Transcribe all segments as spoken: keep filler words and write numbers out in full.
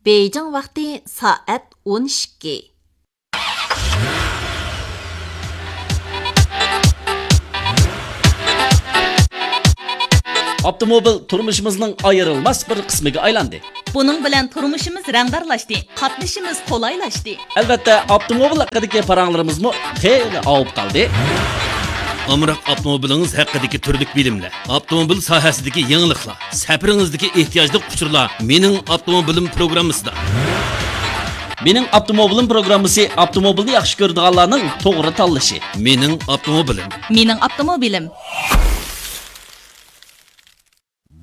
بېيجىڭ ۋاقتى سائەت ئون ئىككى. ئاپتوموبىل تۇرمۇشىمىزنىڭ ئايرىلماس بىر قىسمىغا ئايلاندى. بۇنىڭ بىلەن تۇرمۇشىمىز رەڭدارلاشتى، قاتنىشىمىز قولايلاشتى. ئەلۋەتتە، ئاپتوموبىل ھەققىدىكى پاراڭلىرىمىزمۇ خېلى ئاۋۇپ قالدى. ئامراق ئاپتوموبىلىڭىز ھەققىدىكى تۈرلۈك بىلىملەر، ئاپتوموبىل ساھەسىدىكى يېڭىلىقلار، سەپىرىڭىزدىكى ئېھتىياجلىق ئۇچۇرلار مېنىڭ ئاپتوموبىلىم پروگراممىسىدا. مېنىڭ ئاپتوموبىلىم پروگراممىسى ئاپتوموبىلنى ياخشى كۆرىدىغانلارنىڭ توغرا تاللىشى. مېنىڭ ئاپتوموبىلىم. مېنىڭ ئاپتوموبىلىم.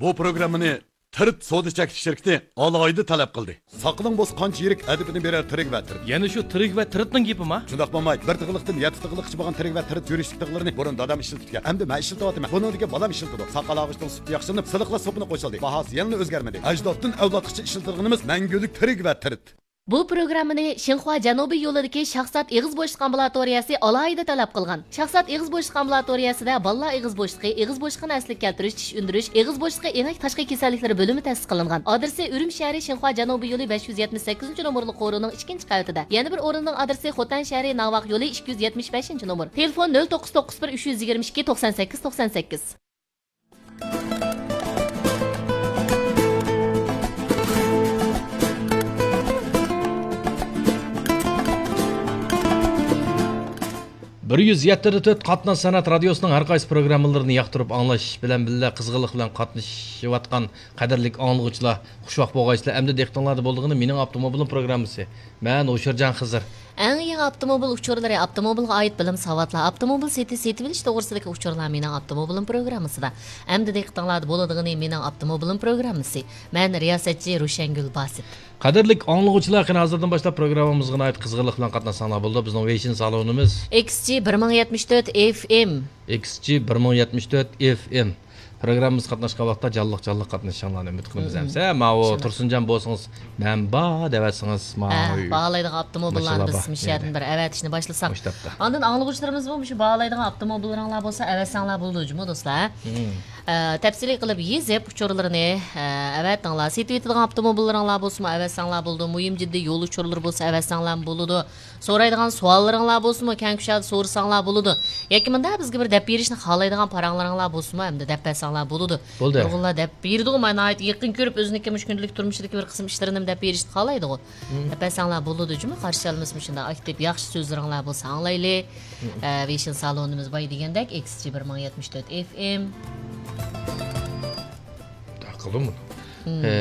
بۇ پروگراممىنى تىرىت سودا چەكلىك شىركىتى ئالاھىدە تەلەپ قىلدى. ساقىلىڭ بولسا قانچە يىرىك ئەدىپىنى بېرەر تىرىك ۋە تىرىت. يەنە شۇ تىرىك ۋە تىرىتنىڭ گېپىما؟ شۇنداق بولماي، بىر تىغلىقتىن يەتتە تىغلىققىچە بولغان تىرىك ۋە تىرىت يۈرۈشلۈك تىغلىرىنى بۇرۇن دادام ئىشلىتىپتىكەن. ئەمدى مەن ئىشلىتىۋاتىمەن. بۇنىڭدىكى بالام ئىشلىتىدۇ. ساقال ئالغۇچنىڭ سۈپىتى ياخشىلىنىپ، سىلىقلار سوپۇنى قوشۇلدى. باھاسى يەنىلا ئۆزگەرمىدى. ئەجدادتىن ئەۋلادقىچە ئىشلىتىدىغىنىمىز مەڭگۈلۈك تىرىك ۋە تىرىت. بۇ پروگراممىنى شىنخۇا جەنۇبىي يولىدىكى شاھزات ئېغىز بوشلۇق ئامبۇلاتورىيەسى ئالاھىدە تەلەپ قىلغان. شاھزات ئېغىز بوشلۇق ئامبۇلاتورىيەسىدە بالىلار ئېغىز بوشلۇقى، ئېغىز بوشلۇقىنى ئەسلىگە كەلتۈرۈش، چىش ئۈندۈرۈش، ئېغىز بوشلۇقى ئېڭەك تاشقى كېسەللىكلىرى بۆلۈمى تەسىس قىلىنغان. ئادرېسى ئۈرۈمچى شەھىرى شىنخۇا جەنۇبىي يولى بەش يۈز يەتمىش سەككىزىنچى نومۇرلۇق قورۇنىڭ ئىككىنچى قەۋىتىدە. يەنە بىر ئورۇننىڭ ئادرېسى خوتەن شەھىرى ناۋاق يولى ئىككى يۈز يەتمىش بەشىنچى نومۇر. تېلېفون: نۆل توققۇز توققۇز بىر، ئۈچ يۈز يىگىرمە ئىككى، توقسان سەككىز، توقسان سەككىز. بىر يۈز يەتتە دە تۆت قاتناش سەنئەت رادىيوسىنىڭ ھەر قايسى پروگراممىلىرىنى ياقتۇرۇپ ئاڭلاش بىلەن بىللە، قىزغىنلىق بىلەن قاتنىشىۋاتقان قەدىرلىك ئاڭلىغۇچىلار، خۇشۋاق بولغايسىلەر. ئەمدى دىققىتىڭلاردا بولىدىغىنى مېنىڭ ئاپتوموبىلىم پروگراممىسى. مەن ھوشۇرجان خىزىر. ئەڭ يېڭى ئاپتوموبىل ئۇچۇرلىرى، ئاپتوموبىلغا ئائىت بىلىم ساۋاتلار، ئاپتوموبىل سېتىش، سېتىۋېلىش توغرىسىدىكى ئۇچۇرلار مېنىڭ ئاپتوموبىلىم پروگراممىسىدا. ئەمدى دىققىتىڭلاردا بولىدىغىنى مېنىڭ ئاپتوموبىلىم پروگراممىسى. مەن رىياسەتچى روشەنگۈل باسىت. قەدىرلىك ئاڭلىغۇچىلار، قېنى ھازىردىن باشلاپ پروگراممىمىزغا ناھايىتى قىزغىنلىق بىلەن قاتناشساڭلار بولىدۇ. بىزنىڭ ۋېيشىن سالونىمىز ئېكس جى بىر مىڭ يەتمىش تۆت ئېف ئېم. ئېكس جى بىر مىڭ يەتمىش تۆت ئېف ئېم. پروگراممىمىزغا قاتناشقان ۋاقىتتا جانلىق جانلىق قاتنىشىشىڭلارنى ئۈمىد قىلىمىز. مم. ئەمسە ماۋۇ ئىنشاللا. تۇرسۇنجان بولسىڭىز، مەن بار دەۋەتسىڭىز، ھە، ماۋۇ باھالايدىغان ئاپتوموبىللارنى ماشاللا بىز بار. مۇشۇ يەردىن بىر ئەۋەتىشنى باشلىساق. مۇشۇ تاپتا. ئاندىن ئاڭلىغۇچىلىرىمىزمۇ مۇشۇ باھالايدىغان ئاپتوموبىللىرىڭلار بولسا ئەۋەتسەڭلار بولىدۇ جۇمۇ دوستلار. مم. ئە، تەپسىلىي قىلىپ يېزىپ ئۇچۇرلىرىنى، ئە، ئەۋەتىڭلار. سېتىۋېتىدىغان ئاپتوموبىللىرىڭلار بولسىمۇ ئەۋەتسەڭلار بولىدۇ. مۇھىم جىددىي يول ئۇچۇرلىرى بولسا ئەۋەتسەڭلارمۇ بولىدۇ. سورايدىغان سوئاللىرىڭلار بولسىمۇ، كەڭ كۇشادە سورىساڭلار بولىدۇ. ياكى مۇنداق بىزگە بىر دەپ بېرىشنى خالايدىغان پاراڭلىرىڭلار بولسىمۇ، ئەمدى دەپ بەرسەڭلار بولىدۇ. بولدى. نۇرغۇنلار دەپ بېرىدىغۇ، مانا ناھايىتى يېقىن كۆرۈپ، ئۆزىنىڭكى مۇشۇ كۈندىلىك تۇرمۇشىدىكى بىر قىسىم ئىشلىرىنىمۇ دەپ بېرىشنى خالايدىغۇ. مم. دەپ بەرسەڭلار بولىدۇ جۇمۇ، قارشى ئالىمىز مۇشۇنداق ئاكتىپ، ياخشى سۆزلىرىڭلار بولسا ئاڭلايلى. مم. ئە، ۋېيشىن سالونىمىز باي دېگەندەك، ئېكس جى بىر مىڭ يەتمىش تۆت ئېف ئېم. قىلدىم بۇنى. مم. ئە،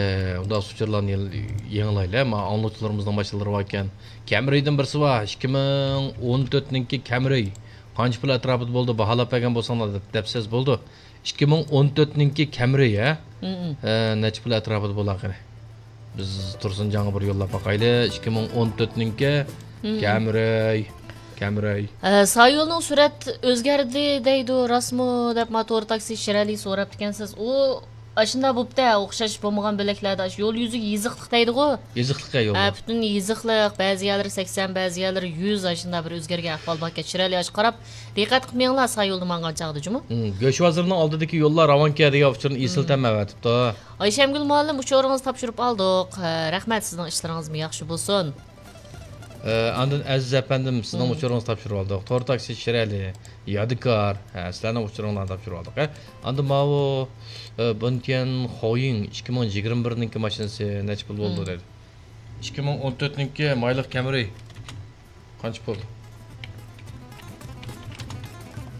ئۇنداق ئۇچۇرلارنى يېڭىلايلى. ما ئاڭلىغۇچىلىرىمىزنىڭ ماشىنىلىرى باركەن. كەمرىدىن بىرسى بار، ئىككى مىڭ ئون تۆتنىڭكى كەمرى. قانچە پۇل ئەتراپىدا بولىدۇ؟ باھالاپ بەرگەن بولساڭلار دەپ، دەپسىز بولىدۇ. ئىككى مىڭ ئون تۆتنىڭكى كەمرى، ھە؟ مم. ئە، نەچچە پۇل ئەتراپىدا بولار قېنى؟ بىز تۇرسۇنجانغا بىر يوللاپ باقايلى. ئىككى مىڭ ئون تۆتنىڭكى مم. كەمرى. كەمرى. ئە، سايولنىڭ سۈرئەت ئۆزگەردى دەيدۇ، راستمۇ دەپ ما تور تاكسى شىرئەلى سوراپتىكەنسىز. ئۇ ئاشۇنداق بوپتۇ، ئوخشاش بولمىغان بۆلەكلەردە ئاشۇ يول يۈزىگە يېزىقلىق دەيدىغۇ. يېزىقلىق يول. ھە، پۈتۈن يېزىقلىق، بەزى يەرلىرى سەكسەن، بەزى يەرلىرى يۈز، ئاشۇنداق بىر ئۆزگەرگەن ئەھۋال باركەن. شىرئەلى ئاشۇ قاراپ، دىققەت قىلىپ مېڭىڭلار سايولدا ماڭغان چاغدا جۇمۇ. مم، گۆش بازىرىنىڭ ئالدىدىكى يوللار راۋانكە دېگەن ئۇچۇرنى ئېسىل مم. تەم ئەۋەتىپتۇ. ئايشەمگۈل مۇئەللىم، ئۇچۇرىڭىزنى تاپشۇرۇپ ئالدۇق. ھە، رەھمەت، سىزنىڭ ئىشلىرىڭىزمۇ ياخشى بولسۇن. ئە، ئاندىن ئەزىز ئەپەندىم، سىزنىڭ مم. ئۇچۇرىڭىزنى تاپشۇرۇۋالدۇق. تور تاكسى شىرئەلى، يادىكار، ھە، سىلەرنىڭ ئۇچۇرۇڭلارنى تاپشۇرۇۋالدۇق. ھە، ئاندىن ماۋۇ، ئە، بېنتيەن خاۋيىڭ ئىككى مىڭ يىگىرمە بىرنىڭكى ماشىنىسى نەچچە پۇل بولىدۇ مم. دەيدۇ. ئىككى مىڭ ئون تۆتنىڭكى مايلىق كەمرى قانچە پۇل؟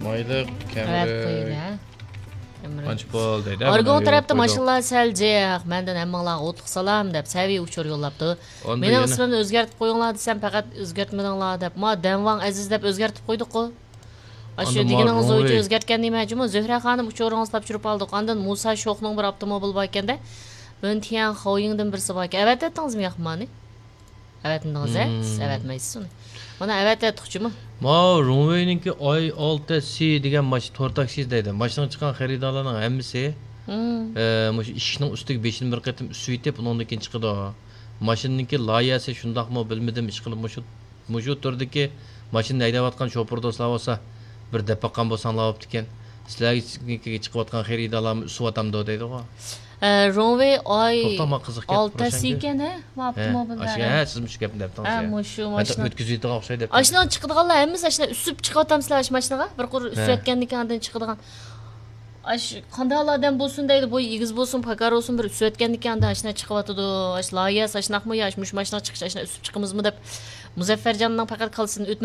مايلىق كەمرى قويدى، ھە؟ كەمرى. قانچە پۇل دەيدۇ، ئارگۇڭ تەرەپتە ماشىنىلار سەل جىق، مەندىن ھەممىڭلارغا ئوتلۇق سالام دەپ سەۋىيە ئۇچۇر يوللاپتۇ. مېنىڭ ئىسمىمنى ئۆزگەرتىپ قويۇڭلار دېسەم، پەقەت ئۆزگەرتمىدىڭلار دەپ، ما دەنۋاڭ ئەزىز دەپ ئۆزگەرتىپ قويدۇققۇ. ئاشۇ دېگىنىڭىز بويىچە ئۆزگەرتكەن نېمە جۇمۇ؟ زۆھرە خانىم، ئۇچۇرىڭىزنى تاپشۇرۇپ ئالدۇق. ئاندىن مۇسا شوخنىڭ بىر ئاپتوموبىلى باركەندە، ۋېنتيەن خاۋيىڭدىن بىرسى باركەن. ئەۋەتەتتىڭىزمۇ ياقمانى؟ ئەۋەتمىدىڭىز، ھە؟ سىز ئەۋەتمەيسىز ئۇنى. مانا ئەۋەتەتتۇق جۇمۇ. ماۋۇ رۇڭۋېينىڭكى ئاي ئالتە سى دېگەن ماشىنا، تور تاكسى دەيدۇ. ماشىنىغا چىققان خېرىدارلارنىڭ ھەممىسى، ئە، مۇشۇ ئىشىكنىڭ ئۈستىگە بېشىنى بىر قېتىم ئۈسۈۋېتىپ، ئۇنىڭدىن كېيىن چىقىدۇ. ماشىنىنىڭكى لايىھەسى شۇنداقمۇ بىلمىدىم، ئىشقىلىپ مۇشۇ مۇشۇ تۈردىكى ماشىنا ھەيدەۋاتقان شوپۇر دوستلار بولسا، بىر دەپ باققان بولساڭلار بوپتىكەن. سىلەرگە چىقىۋاتقان خېرىدارلارمۇ ئۈسۈۋاتامدۇ دەيدىغۇ. ھە، رونۋېي ئاي توختاڭ، ماڭا قىزىق گەپ ئالتەسى قىلىشاڭكى. ئىكەن ھە، ھە، ئاشۇ، ھە، سىزمۇ شۇ گەپنى دەپتىڭىز. ھە، ھە. مۇشۇ ھە، ماشىنا. ئۆتكۈزۈۋېتىدىغان ئوخشايدۇ دەپ. ئاشۇنىڭ چىقىدىغانلار ھەممىسى ئاشۇ ئۈسۈپ چىقىۋاتامسىلەر ئاشۇ ماشىنىغا؟ بىر قۇر ئۈسۈۋەتكەندىن كېيىن ئاندىن چىقىدىغان. ئاش قانداق ئادەم بولسۇن دەيدۇ، بويى ئېگىز بولسۇن، پاكار بولسۇن، بىر ئۈسۈۋەتكەندىن كېيىن ئاندىن ئاشۇنداق چىقىۋاتىدۇ. ئاش لايىھەسى ئاشۇنداقمۇ يا ئاش مۇشۇ ماشىنىغا چىقىش ئاشۇنداق ئۈسۈپ چىقىمىزمۇ دەپ مۇزەففەرجاننىڭ پەقەت كاللىسىدىن ئۆتمەي